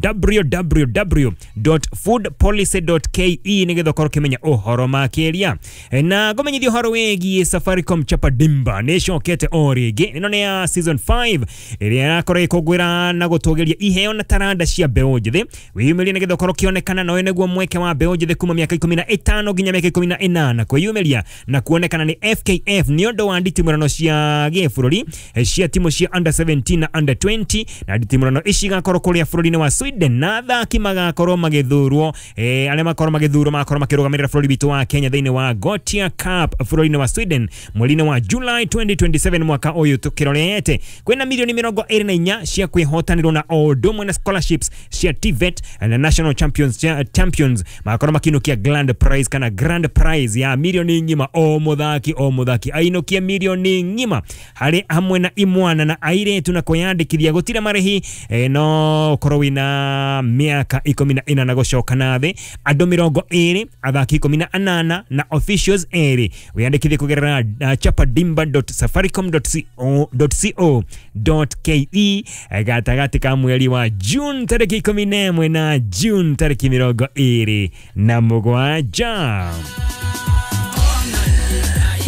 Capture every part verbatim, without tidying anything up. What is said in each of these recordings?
w w w dot food policy dot k e nĩgetha ũkorwo ũkĩmenya ũhoro makĩria. Na ngũmenyithia ũhoro wĩgiĩ Safaricom Chapa Dimba nĩ ĩcokete o rĩngĩ. Ĩno nĩ ya season five ĩrĩa ĩrakorwo ĩkũngũĩra na gũtũgĩria iheo na taranda cia mbeũ njĩthĩ. Wĩyumĩrie nĩgetha ũkorwo ũkĩonekana, na ũyũ nĩguo mweke wa mbeũ njĩthĩ kuma mĩaka ikũmi na ĩtano nginya mĩaka ikũmi na ĩnana kwĩyumĩria na kuonekana nĩ F K F nĩ ũndũ wa nditimũrano cia gĩbũrũri eh, cia timu cia under seventeen na under twenty. Na nditimũrano ici igakorwo kũrĩa bũrũri-inĩ wa Sweden, na athaki magakorwo magĩthurwo, eh, arĩa makorwo magĩthurwo magakorwo makĩrũgamĩrĩra bũrũri witũ wa Kenya thĩinĩ wa Gothia Cup bũrũri-inĩ wa Sweden mweri-inĩ wa July twenty twenty-seven mwaka ũyũ tũkĩrorete. Kwĩna milioni mĩrongo ĩrĩ na inya cia kwĩhotanĩrwo na o ũndũ ũmwe na scholarships cia T V E T na national champions, champions magakorwo makiinũkia grand prize kana grand prize ya milioni ng'ima. O mũthaki o mũthaki ainũkie milioni ng'ima harĩ hamwe na imwana na airĩtu. Na kwĩyandĩkithia gũtirĩ marĩhi, eh, no ũkorwo wĩna mĩaka ikũmi na ĩna na gũcoka na thĩ. Andũ mĩrongo ĩrĩ, athaki ikũmi na anana na officials erĩ. Wĩyandĩkithie kũgerera uh, chapadimba dot safaricom dot co dot ke gatagatĩ ka mweri wa June tarĩki ikũmi na ĩmwe na June tarĩki mĩrongo ĩrĩ na mũgwanja.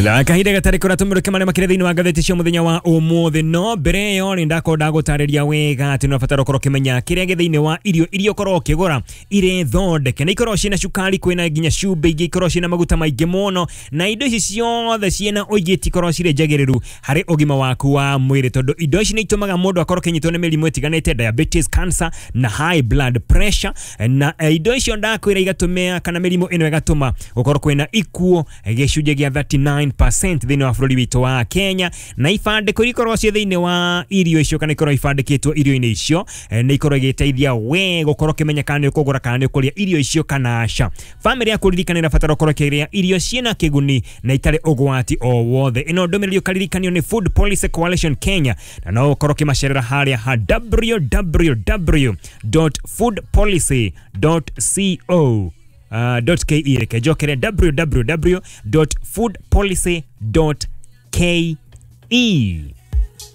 Na kahinda gatarĩ kũra tũmũrĩke marĩa makĩrĩ thĩinĩ wa ngathĩti cia mũthenya wa ũmũthĩ. No mbere ĩyo nĩ ndakorwo ndagũtarĩria wega atĩ nĩ ũrabatara ũkorwo ũkĩmenya kĩrĩa gĩ thĩinĩ wa irio iria ũkorwo ũkĩgũra irĩ thondeke, na ikorwo ciĩna cukari, kwĩna nginya cumbĩ, ingĩ ikorwo ciĩna maguta maingĩ mũno, na indo ici ciothe ciĩna ũingĩ itikorwo cirĩ njagĩrĩru harĩ ũgima waku wa mwĩrĩ, tondũ indo ici nĩ itũmaga mũndũ akorwo akĩnyitwo nĩ mĩrimũ ĩtiganĩte, diabetes, cancer na high blood pressure. Na eh, indo icio ndakwĩra igatũmĩa kana mĩrimũ ĩno ĩgatũma gũkorwo kwĩna ikuũ gĩcunjĩ gĩa thirty-nine percent thĩinĩ wa bũrũri witũ wa Kenya. Na ibandĩko iria ikoragwo ciĩ thĩinĩ wa irio icio kana ikorwo ibandĩkĩtwo irio-inĩ icio, eh, nĩ ikorwo igĩteithia we gũkorwo ũkĩmenya kana nĩ ũkũgũra kana nĩ ũkũrĩa irio icio kana aca. Bamĩrĩ yaku ririkana ĩrabatara ũkorwo ũkĩrĩa irio ciĩna kĩguni na itarĩ ũgwati o wothe. Ĩno ndũmĩrĩri ũkaririkanio nĩ Food Policy Coalition Kenya, na no ũkorwo ũkĩmacerera harĩa ha w w w dot food policy dot co uh, dot k e. Reke njokere, w w w dot food policy dot k e.